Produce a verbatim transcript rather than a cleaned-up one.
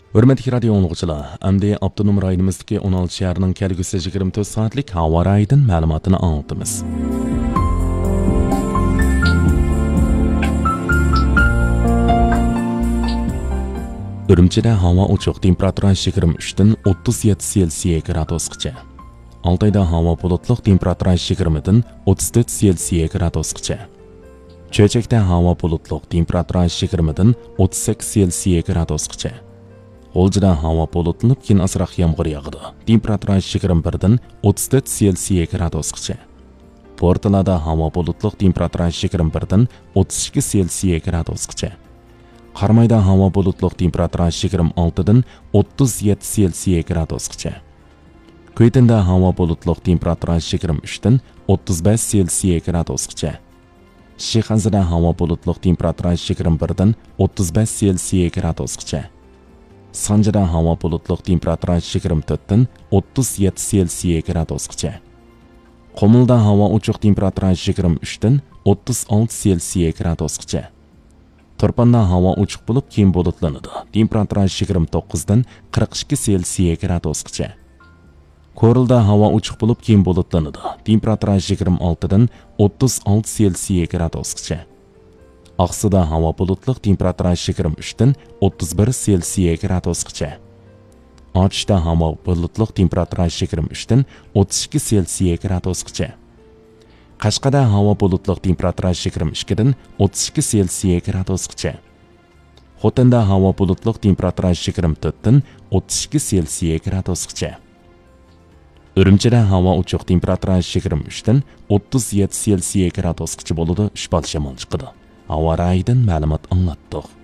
ھۆرمەتلىك رادىيو ئاڭلىغۇچىلار، ئەمدى ئاپتونوم رايونىمىزدىكى ئون ئالتە شەھەرنىڭ كەلگۈسى يىگىرمە تۆت سائەتلىك ھاۋا رايىدىن مەلۇماتىنى ئاڭلىتىمىز. ئۈرۈمچىدە ھاۋا ئوچۇق، تېمپېراتۇرا يىگىرمە ئۈچتىن ئوتتۇز يەتتە سېلسىيە گرادۇسقىچە. ئالتايدا ھاۋا بۇلۇتلۇق، تېمپېراتۇرا يىگىرمىدىن ئوتتۇز تۆت سېلسىيە گرادۇسقىچە. چۆچەكتە ھاۋا بۇلۇتلۇق، تېمپېراتۇرا يىگىرمىدىن ئوتتۇز سەككىز سېلسىيە گرادۇسقىچە. غۇلجىدا ھاۋا بۇلۇتلىنىپ، كېيىن ئازراق يامغۇر ياغىدۇ. تېمپېراتۇرا يىگىرمە بىردىن ئوتتۇز تۆت سېلسىيە گرادۇسقىچە. بورتالادا ھاۋا بۇلۇتلۇق، تېمپېراتۇرا يىگىرمە بىردىن ئوتتۇز ئىككى سېلسىيە گرادۇسقىچە. قارامايدا ھاۋا بۇلۇتلۇق، تېمپېراتۇرا يىگىرمە ئالتىدىن ئوتتۇز يەتتە سېلسىيە گرادۇسقىچە. كۈيتىندە ھاۋا بۇلۇتلۇق، تېمپېراتۇرا يىگىرمە ئۈچتىن ئوتتۇز بەش سېلسىيە گرادۇسقىچە. شىخەنزىدە ھاۋا بۇلۇتلۇق، تېمپېراتۇرا يىگىرمە بىردىن ئوتتۇز بەش سېلسىيە گرادۇسقىچە. سانجىدا ھاۋا بۇلۇتلۇق، تېمپېراتۇرا يىگىرمە تۆتتىن ئوتتۇز يەتتە سېلسىيە گرادۇسقىچە. قۇمۇلدا ھاۋا ئوچۇق، تېمپېراتۇرا يىگىرمە ئۈچتىن ئوتتۇز ئالتە سېلسىيە گرادۇسقىچە. تۇرپاندا ھاۋا ئوچۇق بولۇپ، كېيىن بۇلۇتلىنىدۇ. تېمپېراتۇرا يىگىرمە توققۇزدىن قىرىق ئىككى سېلسىيە گرادۇسقىچە. كورلىدا ھاۋا ئوچۇق بولۇپ، كېيىن بۇلۇتلىنىدۇ. تېمپېراتۇرا يىگىرمە ئالتىدىن ئوتتۇز ئالتە سېلسىيە گرادۇسقىچە. ئاقسۇدا ھاۋا بۇلۇتلۇق، تېمپېراتۇرا يىگىرمە ئۈچتىن ئوتتۇز بىر سېلسىيە گرادۇسقىچە. ئاتۇشتا ھاۋا بۇلۇتلۇق، تېمپېراتۇرا يىگىرمە ئۈچتىن ئوتتۇز ئىككى سېلسىيە گرادۇسقىچە. قەشقەردە ھاۋا بۇلۇتلۇق، تېمپېراتۇرا يىگىرمە ئىككىدىن ئوتتۇز ئىككى سېلسىيە گرادۇسقىچە. خوتەندە ھاۋا بۇلۇتلۇق، تېمپېراتۇرا يىگىرمە تۆتتىن ئوتتۇز ئىككى سېلسىيە گرادۇسقىچە. ئۈرۈمچىدە ھاۋا ئوچۇق، تېمپېراتۇرا يىگىرمە ئۈچتىن ئوتتۇز يەتتە سېلسىيە گرادۇسقىچە بولىدۇ، ئۈچ بال شامال چىقىدۇ. ھاۋا رايىدىن مەلۇمات ئاڭلاتتۇق.